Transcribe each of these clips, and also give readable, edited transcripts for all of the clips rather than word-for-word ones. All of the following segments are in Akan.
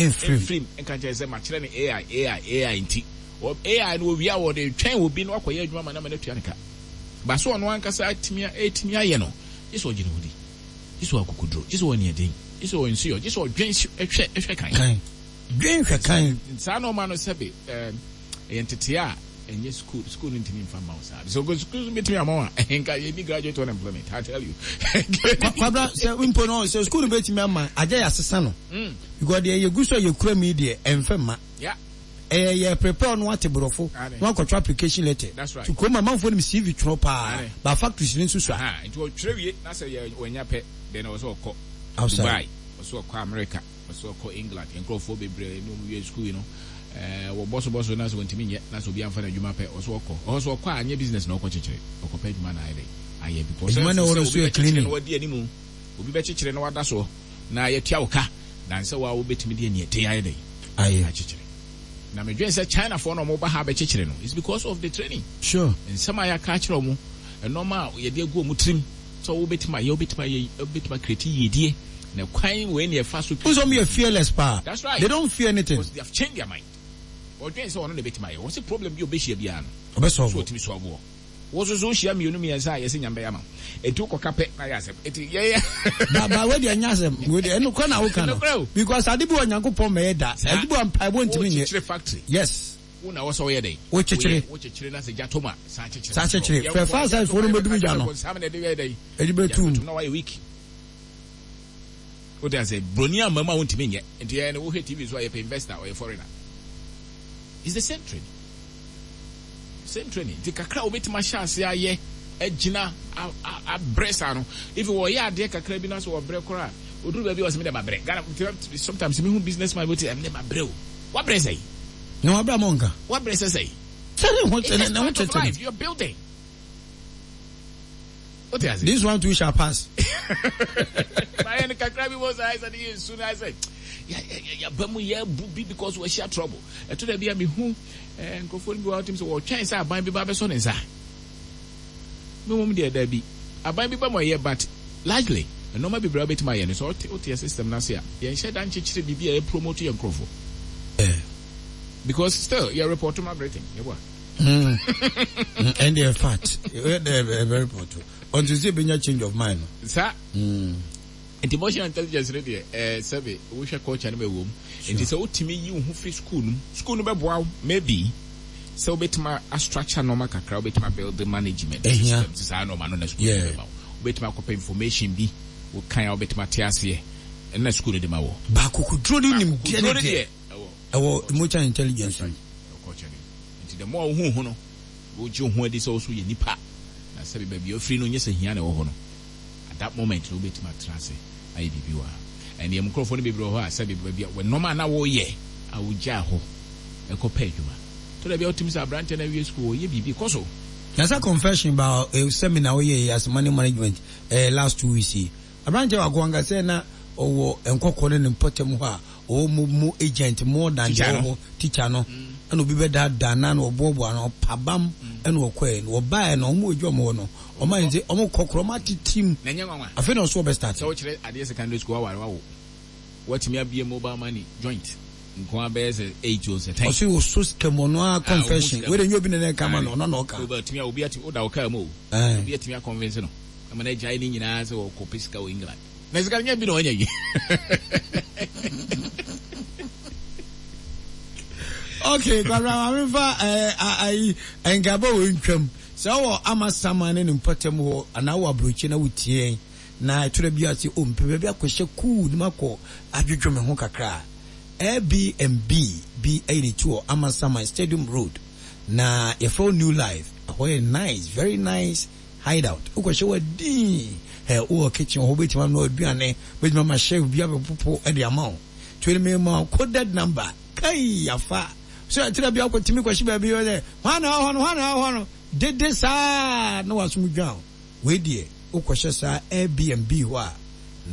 Mfirim. Nka nkyerɛ sɛ makyerɛ no AI, AI, AI nti. AI no wɔwie a wɔde retwɛn obi na wakɔyɛ adwuma ma no ama no atua ne ka. Ba so ɔno ankasa atumi atumi ayɛ no, gye sɛ ɔgye ne ho di. Gye sɛ ɔwɔ akokoduro, gye sɛ ɔwɔ aniɛden, gye sɛ ɔwɔ nsiyɔ, gye sɛ ɔdwen hwɛ hwɛ kan. Kan. Dwen hwɛ kan. Saa nnoɔma no sɛbe ɛyɛ ntetee a ɛnyɛ sukuu, sukuu no ntumi mfa mma wo saa. Sɛ sukuu no bɛtumi ama wo a, nka yɛnni graduate unemployment, I tell you. Kwabena, sɛ mpo no, sɛ sukuu no bɛtumi ama, agya yɛasesa no. Because deɛ yɛgu so a yɛkura mu yi deɛ, ɛmfa mma. Yeah. Ɛyɛ yɛ prepare no ate borɔfo na wakɔtwerɛ application letter. That's right. Nti kurom amanfoɔ nim CV twerɛ paa, but factories no nso sua. Nti ɔtwerɛ wie na sɛ yɛ wanya pɛ, then ɔwɔ sɛ ɔkɔ Outside. Dubai, ɔwɔ sɛ ɔkɔ America, ɔwɔ sɛ ɔkɔ England. Yɛn nkurɔfoɔ bebree ne wɔn wie sukuu yi no, ɛɛ wɔbɔ so bɔ so na sɛ wɔntumi nyɛ na sɛ obi amfa no adwuma pɛ, ɔwɔ sɛ ɔkɔ. Ɔwɔ sɛ ɔkɔ a, nyɛ business na ɔkɔ kyekyere, ɔkɔpɛ adwuma na ayɛ dɛn? Ayɛ because Adwuma na ɛwɔ sɛ no obi nso yɛ bɛkyekyere cleaning. na wadi anim, obi bɛkyekyere na wada soɔ na yɛatua wo ka. Than sɛ wo a wobɛtumi de aniɛden ayɛ dɛn? Ayɛ. Akyekyere. Na medwene sɛ Chinafoɔ na wɔba ha bɛkyekyere no, it's because of the training. Sure. Nsɛm a yɛaka akyerɛ wɔn, nnoɔma a yɛde agu wɔn tirim sɛ wobɛtumi ayɛ, wobɛtumi ayɛ, wobɛtumi acreate yiedie, na kwan wei na yɛfa so Wohu sɛ wɔn yɛ fearless paa. That's right. They don't fear anything. Because they have changed their mind. Wɔdwene sɛ ɔno na ɛbɛtumi ayɛ. Wɔse problem bi a ɔbɛhyia biara no, Ɔbɛ solve. so ɔtumi solve wɔ. Wo nso so wohyia mmienu mmiɛnsa a yɛse Nyame bɛyɛ ama wo. Enti wokɔka pɛ na ayɛ asɛm. Enti yɛyɛ. Ba ba wei deɛ ɛnyɛ asɛm. Wei deɛ ɛnokorɛ na woka no. Ɛnokorɛ o. Because ade bi wɔ Nyankopɔn mɛyɛ da. Saa. Ade bi wɔ mpaebɔ ntumi nyɛ. Wokyekyere factory. Yes. Wo na ɛwɔ sɛ woyɛ dɛn? Wokyekyere. Woyɛ. Wokyekyere na sɛ gya tɔ mu a, san kyekyere San foforɔ. kyekyere. Yɛn Fɛ nkoa fire gya service tɔ mu foɔ a no yɛbɛka bɛdum gya kyerɛ no. bonsam na ɛde yɛ dɛn? Ɛde Gya bɛtum. bɛtum na wayɛ weak. Wote aseɛ? Broni amma mu a wontumi nyɛ. Nti yɛn no wohwɛ TV so a yɛpɛ investor, ɔyɛ foreigner. It's the same training. Same training. Nti kakra a wobɛtumi ahyɛ ase ayɛ agyina abrɛ saa no. If wɔyɛ adeɛ kakra bi na sɛ wɔbrɛ koraa a, ɔduru baabi a ɔsɛ me deɛ mabrɛ. Ghana sometimes mehu business man bi ɔte me deɛ mabrɛ o. Wabrɛ sɛn? Na wabrɛ ama ɔnka. Wabrɛ sɛ sɛn? Sɛ ne ho It's just ne ho part of tete no. life. You're building. Wote ase? This one too shall pass. Mayɛ no kakra bi wɔ sɛ ayɛ sɛ ne yɛ nsu no ayɛ sɛ yɛaba mu yɛabu bi because wɔahyia trouble. Ɛto da bi a mehu eh, nkurɔfoɔ no bi wɔ hɔ sɛ wɔtwɛn sɛ aban bi ba bɛsɔ ne nsa. Me mmom deɛ dabi. Aban bi ba mu ɛyɛ but largely nneɛma bebree a wobɛtumi ayɛ no sɛ wote wote yɛ system no ase a yɛnhyɛ da nkyekyere biribi a ɛpromote yɛn nkurɔfoɔ. Because still yɛ report ma Britain yɛboa. Mm. And they're fat. They're very poor too. Until they bring a change of mind. Sir. Mm. Nti emotional intelligence no deɛ ɛɛ sɛbe wohwɛ culture no ma ɛwɔ mu. Nti sɛ wotumi yi wo ho firi school no mu, school no bɛboa wo maybe sɛ wobɛtumi a structure nneɛma kakra, wobɛtumi a build management systems saa nneɛma no na school no bɛma wo. Wobɛtumi akɔpɛ information bi, wokan a wobɛtumi ate aseɛ, ɛno na school no de ma wɔ. Ba akokoduro ne nimdeɛ no deɛ ɛwɔ emotional intelligence mu. Ɛwɔ culture no mu. Nti the more wohu wo ho no, wogye wo ho adi sɛ wo nso woyɛ nipa, na sɛbe baabi a wofiri no nyɛ sɛ hia na ɛwɔ hɔ no. At that moment no wobɛtumi atena ase ayɛ biribi wɔ ha. Ɛnneɛ mo nkurɔfoɔ no bebree wɔ hɔ a sɛbe baabi a nnoɔma a na woyɛ a wogyaa hɔ kɔ pɛ adwuma. Tɔ da bi a wotumi sɛ aberanteɛ no awie sukuu ɔyɛ biribi kɔ so. Na sɛ confession ba eh, seminar woyɛ yi as money management eh, last 2 weeks yi. Aberanteɛ baako anka sɛ na ɔwɔ nkɔkɔ ne ne mpɔtam hɔ a ɔwɔ mo mo agent more than Teacher deɛ no. ɔwɔ hɔ teacher no ɛna obi bɛdaadaa na na ɔboaboa no ɔpabam ɛna ɔkɔɛ no ɔbaeɛ no ɔmo adwa ɔmo hɔ no ɔmo ayɛ sɛ ɔmo kɔ korɔ ɔmo atetem Na ɛnyɛ nwanwa afei na ɔso ɔbɛ start. sɛ wokyerɛ adeɛ secondary school aware wawo watumi abue mobile money joint nko ara bɛyɛ sɛ eight o sɛ 10. Ɔso ɔso sika mu ɔno ara Ah, ɔhu confession sika wei mu. de nyɛ obi na na ɛka ma no ɔno na ɔka. Obi atumi a obi atumi woda wo kaa mu o Ɛɛ. obi atumi akɔnvinse no ama no agyae ne nyinaa sɛ ɔkɔpɛ sika wɔ England. Na sika no nyɛ bi na wanya yi. Okay, Kwabena maame nfa ɛɛ ayi nkabɔ wɔ ntwam. Sɛ wɔ Amasaman ne ne mpɔtam hɔ anaa wɔ aburokyi na wotie yɛn na ɛtɔ da bi a sɛ o mpɛ baabi akɔhyɛ kuu na makɔ adwodwo me ho kakra a, Airbnb bi ayi ne ti wɔ Amasaman Stadium Road na yɛfrɛ hɔ New Life. Ɛhɔ yɛ nice, very nice hideout. Wokɔhyɛ hɔ a dinn. Ɛ wowɔ kitchen hɔ wobɛtumi anoa aduane, wobɛtumi ama chef bi abɛpopo de ama wo. Nti wei mema wo coded number. Kai afa! So ɛtɔ da bi a wokɔtumi kɔhyɛ baabi wɔ sɛ hwan na ɛwɔ hɔ no, hwan na ɛwɔ hɔ no, dede saa na w'asom dwan wo. Wei deɛ wokɔhyɛ saa Airbnb hɔ a,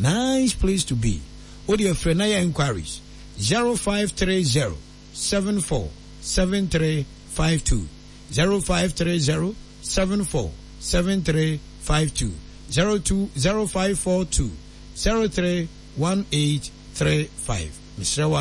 nice place to be. Wo deɛ frɛ na yɛ enquiries, 0530 74 7352, 0530 74 7352, 02 0542 03 1835. Mesrɛ wo a.